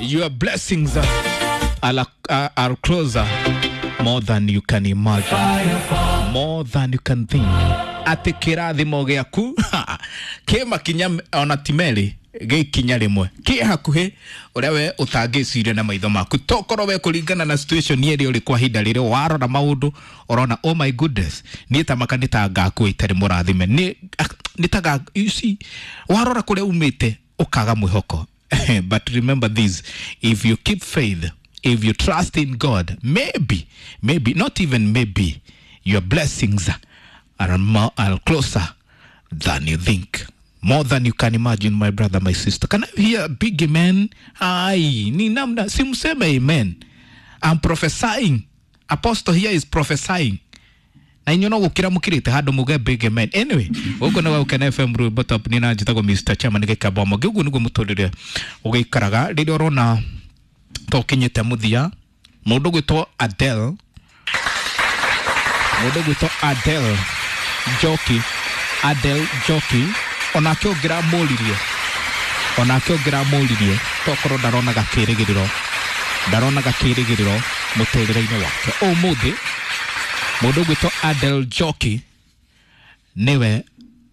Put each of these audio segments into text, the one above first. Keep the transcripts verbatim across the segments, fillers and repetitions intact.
Your blessings are, are, are closer more than you can imagine, more than you can think. Atĩ kĩrathimo gĩaku kĩ makinya ona ti merĩ, gĩ ikinya rĩmwe, kĩ hakuhĩ ũrĩa we ũtangĩciria na maitho maku. Tokorwo we kũringana na situation ĩrĩa ũrĩ kwa ihinda rĩrĩ, warora maũndũ ũrona, "Oh my goodness, niĩ ta maka nĩ ta ngakua itarĩ mũrathime." Nĩ nĩ ta, you see, warora kũrĩa umĩte ũkaga mwĩhoko. But remember this: if you keep faith, if you trust in God, maybe, maybe not even maybe, your blessings are, more, are closer than you think, more than you can imagine. My brother, my sister, can I hear a big amen? Ai, ni namna simseme amen. I'm prophesying. Apostle here is prophesying na inyuĩ no gũkĩra mũkĩrĩte handũ muge big amen. Anyway, gũkũ nĩ Gũkena F M, rwĩmbo top, nĩ na njĩtagwo Mister Chairman gĩkamba ũguo nĩguo mũtũrĩre ũgĩikaraga rĩrĩa ũrona tokinyĩte mũthia. Mũndũ gwĩtwo Adele, mũndũ gwĩtwo Adele Njoki, Adele Njoki, onake ũngĩramũririe onake ũngĩramũririe tokorwo ndaronaga kĩrĩgĩrĩro, ndaronaga kĩrĩgĩrĩro mũtũrĩre-inĩ wake, ũmũthĩ mũndũ ũgwĩtwo Adele Njoki nĩwe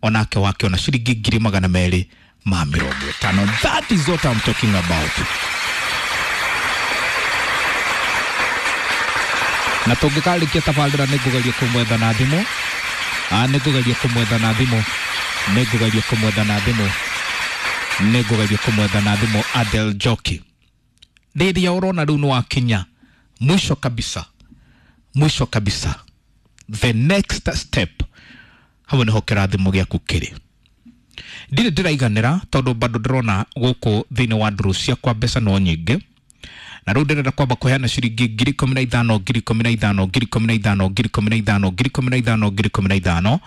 onake wakĩona ciringi ngiri magana merĩ ma mĩrongo ĩtano. That is what I'm talking about. Na tũngĩkarĩkia tabarĩra, nĩ ngũgeria kũmwetha na thimũ. Ah, nĩ ngũgeria kũmwetha na thimũ, nĩ ngũgeria kũmwetha na thimũ, nĩ ngũgeria kũmwetha na thimũ Adele Njoki. Rĩrĩa ũrona rĩu nĩ wakinya mwisho kabisa, mwisho kabisa, the next step, hau nĩho kĩrathimo gĩaku kĩrĩ. Ndirĩ ndĩraiganĩra tondũ bado ndĩrona gũkũ thĩinĩ wa ndũrũ ciakwa mbeca no nyingĩ, na rĩu ndĩrenda kwamba kũheana ciringi ngiri ikũmi na ithano, ngiri ikũmi na ithano, ngiri ikũmi na ithano, ngiri ikũmi na ithano, ngiri ikũmi na ithano, ngiri ikũmi na ithano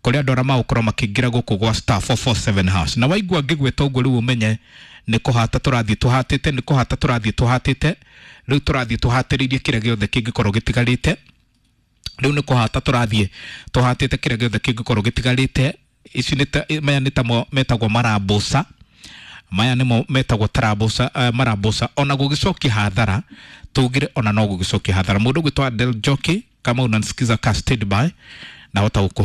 kũrĩ andũ arĩa magũkorwo makĩingĩra gũkũ gwa star four four seven hash. Na waigua ngĩgwĩta ũguo, rĩu ũmenye nĩ kũhata tũrathiĩ tũhatĩte, nĩ kũhata tũrathiĩ tũhatĩte. Rĩu tũrathiĩ tũhatĩrĩirie kĩrĩa gĩothe kĩngĩkorwo gĩtigarĩte. Rĩu nĩ kũhata tũrathiĩ tũhatĩte kĩrĩa gĩothe kĩngĩkorwo gĩtigarĩte. Ici nĩ ta maya nĩ tamo metagwo marambuca, maya nĩmo metagwo tarambuca, uh, marambuca. Ona gũgĩcokia hathara tugire, ona no gũgĩcokia hathara. Mũndũ ũgwĩtwo Adele Njoki, kama unanisikiza, ka stand by na hota.